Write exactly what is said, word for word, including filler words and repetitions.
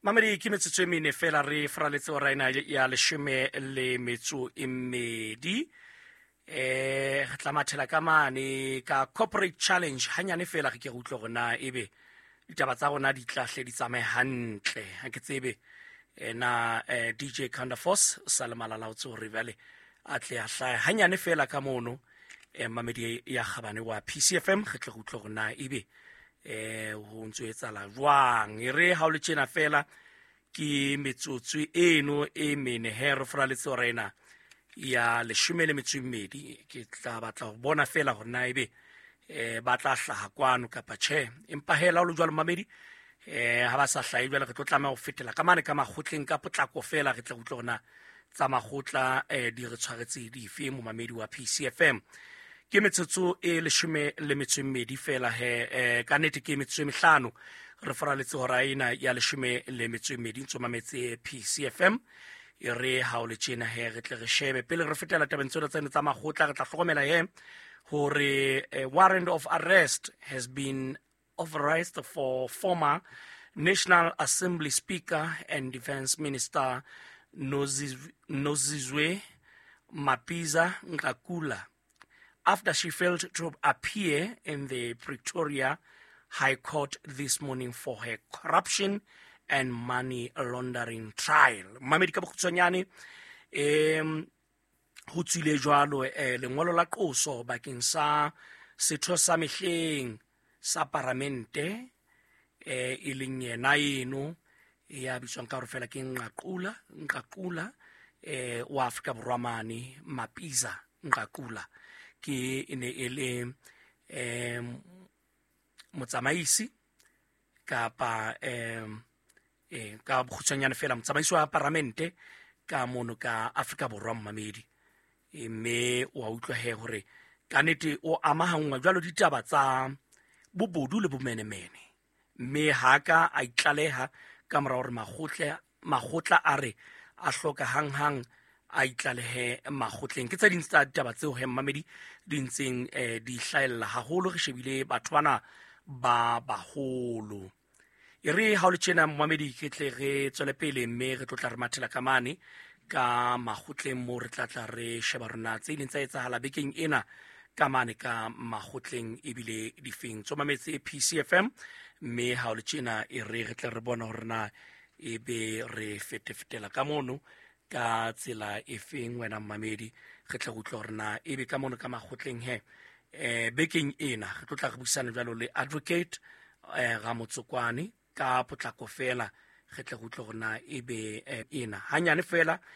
Mamedi, ke metsotso e mene fela re faraletse ora ena ya leshome le metso e mmedi. eh re tla mathela ka mane ka corporate challenge hanyane fela, re ke re utlwe hore na ebe ditaba tsa rona di tlahle di tsamaye hantle. Ha ke tsebe eh, na eh, D J Counterforce o sa le malalaotse hore jwale a tle a hlahe hanyane fela ka mono. eh, mamedi ya kgabane wa P C F M, re tle re utlwe hore na ebe eh ho ntso etsahala jwang. E re ha o le tjena fela, ke metsotso eno e mene he re foraletse hora ena ya leshome le metso e mmedi. Ke tla batla ho bona fela hore na ebe eh ba tla hlaha kwano kapa tjhe. Empa hela o le jwalo, mamedi, eh ha ba sa hlahe jwale, re tlo tlameha ho fetela ka mane ka makgotleng ka potlako fela, re tle re utlwe hore na tsa makgotla eh di re tshwaretse dife. Momamedi wa P C F M, ke metsotso e leshome le metso e mmedi fela he, eh, ka nnete ke metsotso e mehlano re faraletse hora ena ya leshome le metso e mmedi. Ntso mametse P C F M. E re ha o le tjena he, re tle re shebe pele re fetela tabeng tsena tsene tsa makgotla. Re tla hlokomela he hore eh, warrant of arrest has been authorized for former National Assembly Speaker and Defense Minister Noziz- Nozizwe Mapisa Nqakula after she failed to appear in the Pretoria High Court this morning for her corruption and money laundering trial. Mamedi, ka bokgutshwanyane, em ho tswile jwalo eh, lengolo la qoso bakeng sa setho sa mehleng sa paramente, eh e leng yena eno ya bitswang ka hore fela ke Nqakula Nqakula eh wa Afrika Borwa mane, Mapisa Nqakula, ke e ne e le em motsamaisi kapa em eh ka bokgutshwanyane fela motsamaisi wa paramente ka mono ka Afrika Borwa, mmamedi. E mme wa utlwa he hore ka nnete o amahanngwa jwalo ditaba tsa bobodu le bomenemene, mme ha ka a itlaleha ka mora hore makgotle makgotla a re a hloka hanghang a itlalehe makgotleng. Ke tse ding tsa ditaba tseo he, mmamedi, di ntseng eh, di hlahella haholo re shebile batho bana ba baholo. E re ha o le tjena, mmamedi, ke tle re tswele pele, mme re tlo tla re mathela ka mane ka makgotleng moo re tla tla re sheba rona tse ileng tsa etsahala bekeng ena ka mane ka makgotleng ebile difeng. Tso mametse P C F M, mme ha o le tjena e re re tle re bona hore na ebe re fetefetela ka mono ka tsela e feng. Wena mmamedi, re tle re utlwe hore na ebe ka mono ka makgotleng he eh bekeng ena re tlo tla re buisana jwalo le Advocate eh Ramotsokwane ka potlako fela, re tle re utlwe hore na ebe eh, ena hanyane fela.